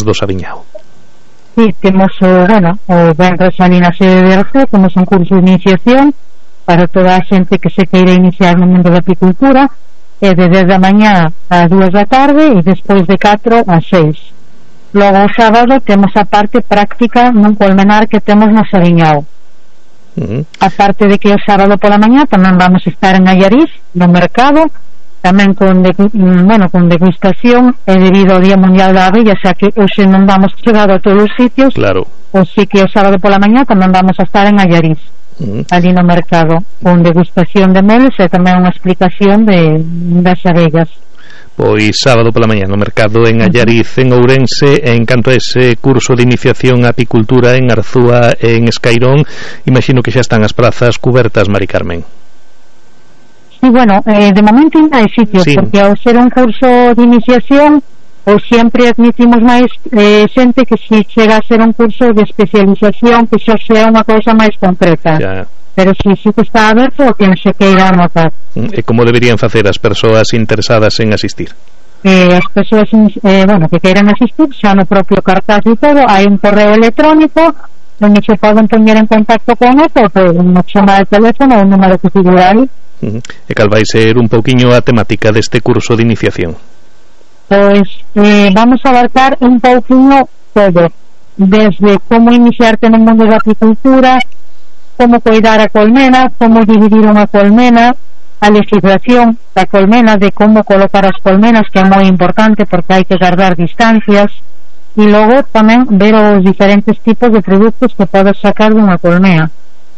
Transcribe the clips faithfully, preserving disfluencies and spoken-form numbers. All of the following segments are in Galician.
do Sabiñao. Sí, temos o, bueno, o venres ali na sede de Arce, temos un curso de iniciación para toda a xente que se queira iniciar no mundo da apicultura, e de dez da mañá a dúas da tarde e despois de catro a seis. Logo o sábado temos a parte práctica nun colmenar que temos no Sabiñao. Uh-huh. A parte de que o sábado pola mañá tamén vamos a estar en Allariz, no mercado, tamén con, de, bueno, con degustación, e debido ao Día Mundial da Abella, xa que hoxe non vamos chegar a todos os sitios, claro. O sí que o sábado pola mañá tamén vamos a estar en Allariz, uh-huh. ali no mercado, con degustación de meles e tamén unha explicación de, das abellas. Pois sábado pola mañá no mercado en Allariz, en Ourense. En canto a ese curso de iniciación a apicultura en Arzúa e en Escairón, imagino que xa están as prazas cubertas, Mari Carmen. Sí, bueno, eh, de momento ainda hai sitios, sí. Porque ao ser un curso de iniciación, ou sempre admitimos máis eh, xente que se chega a ser un curso de especialización, que xa sea unha cousa máis concreta. Ya. Pero si sí que está aberto, o quen se queira anotar. E como deberían facer as persoas interesadas en asistir? Eh, as persoas eh, bueno, que queiran asistir, xa no propio cartaz e todo, hai un correo electrónico onde se poden poñer en contacto con esto, ou poden chamar el teléfono ou un número que figura aí. Uh-huh. E cal vai ser un pouquiño a temática deste curso de iniciación? Pois eh, vamos a abarcar un pouquiño todo, desde como iniciarte no mundo da apicultura, como cuidar a colmena, como dividir unha colmena, a legislación da colmena, de como colocar as colmenas, que é moi importante porque hai que guardar distancias, e logo tamén ver os diferentes tipos de produtos que podes sacar dunha colmena.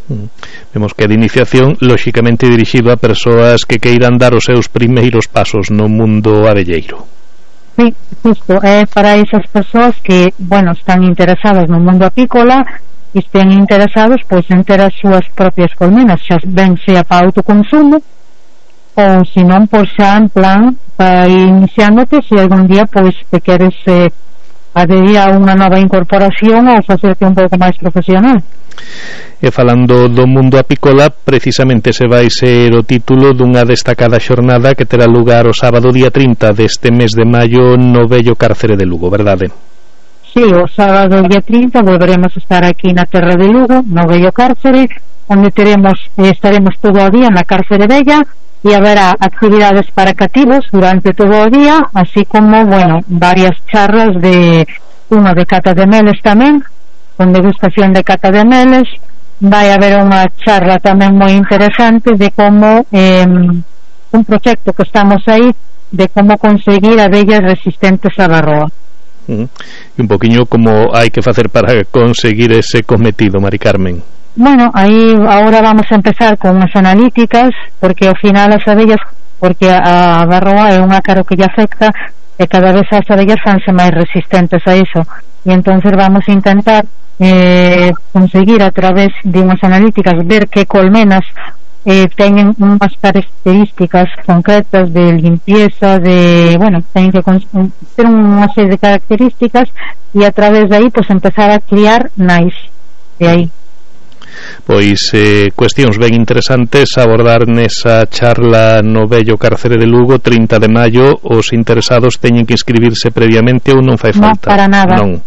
Mm. Vemos que de iniciación lóxicamente dirixido a persoas que queiran dar os seus primeiros pasos no mundo abelleiro. Sí, justo, é para esas persoas que, bueno, están interesadas no mundo apícola e estén interesados pois en ter as súas propias colmenas, xa ben sea para autoconsumo ou se non, pois xa en plan para ir iniciándote, se algún día pois te queres eh, adherir a unha nova incorporación ou facerte un pouco máis profesional. E falando do mundo apícola, precisamente se vai ser o título dunha destacada xornada que terá lugar o sábado día trinta deste mes de maio no vello cárcere de Lugo, verdade? Sí, o sábado día trinta volveremos a estar aquí na terra de Lugo, no vello cárcere, onde teremos, estaremos todo o día na cárcere bella e haberá actividades para cativos durante todo o día, así como, bueno, varias charlas de unha de cata de meles tamén, con degustación de cata de meles. Vai haber unha charla tamén moi interesante de como eh, un proxecto que estamos aí de como conseguir abellas resistentes á varroa. Uh-huh. E un poquinho como hai que facer para conseguir ese cometido, Mari Carmen. Bueno, aí agora vamos a empezar con unhas analíticas, porque ao final as abellas, porque a, a varroa é un ácaro que lle afecta e cada vez as abellas fanse máis resistentes a iso, e entonces vamos a intentar Eh, conseguir a través de unhas analíticas ver que colmenas eh, teñen unhas características concretas de limpieza, de, bueno, teñen que ter unha serie de características e a través de aí pues empezar a criar nais de aí. Pois eh, cuestións ben interesantes a abordar nesa charla no vello cárcere de Lugo, trinta de maio. Os interesados teñen que inscribirse previamente ou non fai falta? Non, para nada. Non.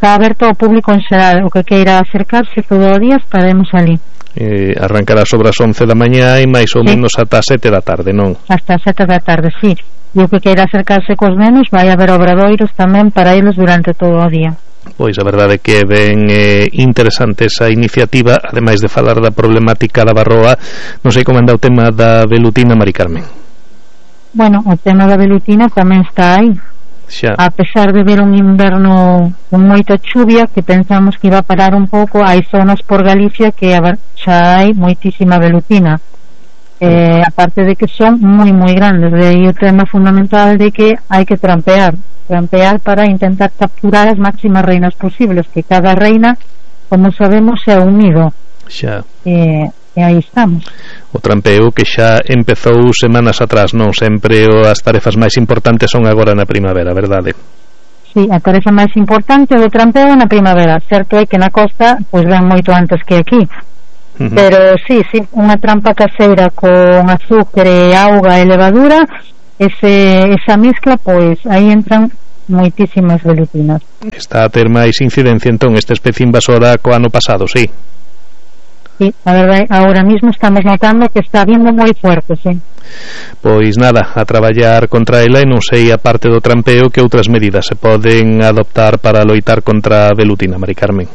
Está aberto ao público en xeral, o que queira acercarse todo o día estaremos ali. Eh, arrancará sobre as once da mañá e máis ou sí. menos ata as sete da tarde, non? Hasta as sete da tarde, sí. E o que queira acercarse cos nenos, vai haber obradoiros tamén para eles durante todo o día. Pois a verdade é que é ben eh, interesante esa iniciativa, ademais de falar da problemática da varroa. Non sei como anda o tema da velutina, Mari Carmen. Bueno, o tema da velutina tamén está aí. Xa. A pesar de ver un inverno con moita chuvia, que pensamos que iba a parar un pouco, hai zonas por Galicia que xa hai moitísima velutina, eh, aparte de que son moi moi grandes. De aí o tema fundamental de que hai que trampear trampear para intentar capturar as máximas reinas posibles, que cada reina, como sabemos, é un nido. Xa. Eh, e aí estamos. O trampeo que xa empezou semanas atrás, non sempre as tarefas máis importantes son agora na primavera, verdade? Sí, a tarefa máis importante do trampeo na primavera. Certo é que na costa pois ven moito antes que aquí, uh-huh. Pero sí, sí, unha trampa caseira con azúcar, auga e levadura, ese, esa mezcla, pois aí entran moitísimas velutinas. Está a ter máis incidencia entón esta especie invasora co ano pasado, sí? Sí, a verdade, ahora mismo estamos notando que está vindo moi fuerte, sí. Pois nada, a traballar contra ela, e non sei, a parte do trampeo, que outras medidas se poden adoptar para loitar contra a velutina, Mari Carmen?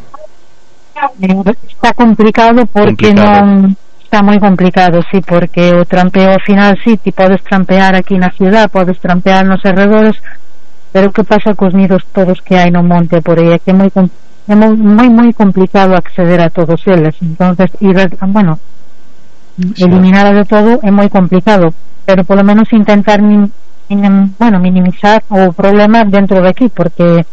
Está complicado porque complicado. non... Está moi complicado, sí, porque o trampeo ao final, sí, ti podes trampear aquí na ciudad, podes trampear nos arredores, pero que pasa cos nidos todos que hai no monte por aí? É que é moi complicado. É moi, moi moi complicado acceder a todos eles, entonces ir, bueno, sí. eliminar de todo é moi complicado, pero polo menos intentar min, min, bueno, minimizar o problema dentro de aquí, porque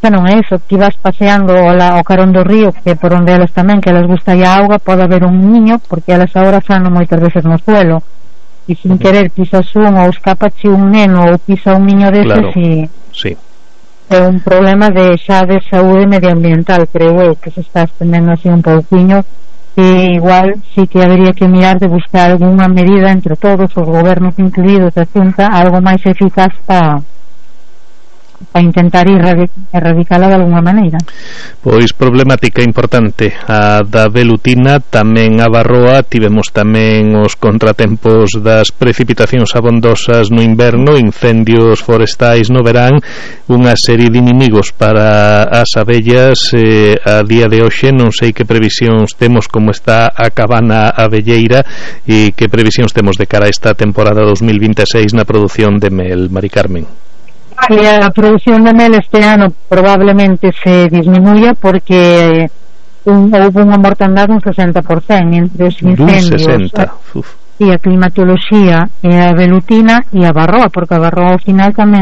xa non é eso, que vas paseando o, la, o carón do río, que por onde elas tamén, que elas gusta a auga, pode haber un niño, porque elas agora fan moitas veces no suelo, e sin uh -huh. querer pisas un, ou escapache un neno, ou pisa un niño deses, claro. e... sí. É un problema de xa de saúde medioambiental, creo eu, que se está estendendo así un pouquiño, que igual sí que habería que mirar de buscar alguna medida entre todos os gobernos incluídos da Xunta, algo máis eficaz para para intentar erradicala de alguna maneira. Pois problemática importante a da velutina, tamén a Barroa. Tivemos tamén os contratempos das precipitacións abondosas no inverno, incendios forestais no verán, unha serie de inimigos para as abellas. eh, a día de hoxe non sei que previsións temos, como está a cabana abelleira, e que previsións temos de cara a esta temporada dos mil vinte e seis na produción de mel, Mari Carmen. E a produción de mel este ano probablemente se disminuya porque un, houve unha mortandade un sesenta por cento entre os incendios e a climatoloxía e a velutina e a Barroa, porque a Barroa ao final tamén